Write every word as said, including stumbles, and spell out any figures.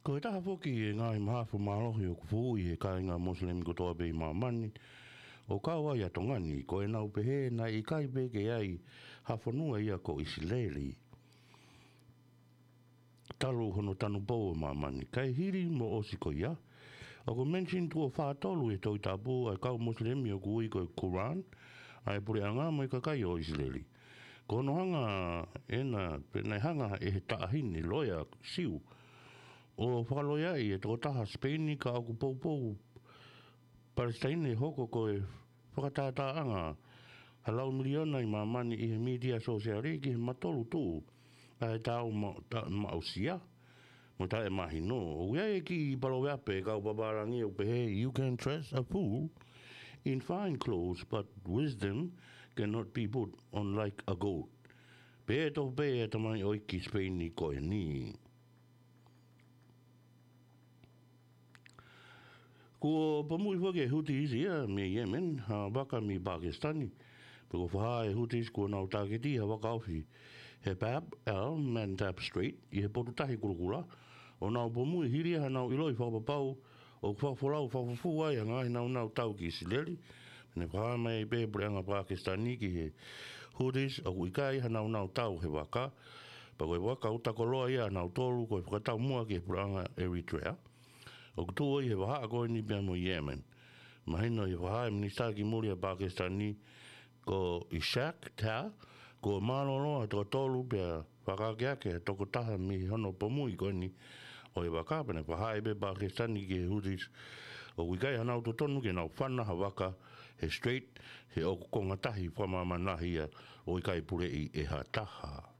Ko e taha foki e ngaahi mahafu mālohi ʻoku fuʻu ʻi he kāinga Mosilemi kotoa pē ʻi māmani, ʻo kau ai ʻa Tonga ni, ko ʻenau pehē naʻe ʻikai pē ke ʻi ai ha fonua ia ko ʻIsileli talu hono tanupou ʻo māmani. Kae hili mo ʻosi ko ia, ʻoku mention tuʻo fā tolu ʻi he Tohi Tapu ʻa e kau Mosilemi ʻoku ui ko e Quran, ʻa e puleʻanga mo e kakai ʻo ʻIsileli. Ko hono hanga ʻena, pe naʻe hanga ʻe he taʻahine loea Siu ʻo fakaloea ʻi he tokotaha Sipeini ka ʻoku poupou Palesitaine hoko ko e fakatātāʻanga ha lau miliona ʻi māmani ʻi he mītia sōsiale ki he matolu tuʻu ʻa e tau ma-, ta-, maʻusia mo taʻemahino. ʻOku ʻi ai e kiʻi paloveape kau papālangi ʻoku pehē, "You can trust a fool in fine clothes, but wisdom cannot be put on like a goat." Pehē tofu pē ʻe he tamaioʻeiki Sipeini ko eni. Kuo pomuʻi foki ʻe he Houthis ia mei Yemen ha vaka mei Pakisitani. Pea kuo fakahā ʻe he Houthis kuo nau tāketi ha vaka ofi he Bab el Mandab Strait ʻi he Potutahi Kulokula, ʻo nau pomuʻi hili ia haʻanau ʻiloʻi fakapapau ʻoku fakafolau fakafufū ai ʻa e ngaahi naunau tau ki ʻIsileli. Pea ne fakahā mai pē ʻe he puleʻanga Pakisitani ki he Houthis ʻoku ʻikai ha naunau tau he vaka, pea ko e vaka utakoloa ia ʻanautolu ko e fakataumuʻa ki he puleʻanga Eritrea ʻoku tuʻu ʻi he vahaʻa ko eni pea mo Yemen. Mahino ʻi he fakahā ʻa e Minisitā ki Muli ʻa Pakisitani ko Ishaq Dar, kuo mālōlō ʻa e toko tolu pea fakaakeake ʻa e toko taha mei hono pomuʻi ko eni ʻo e vaka. Pea ne fakahā pē ʻe Pakisitani ki he Houthis ʻoku ʻikai haʻanau totonu ke nau fana ha vaka he Strait, he ʻoku konga tahi fakamāmani lahi ia ʻo ʻikai puleʻi ʻe ha taha.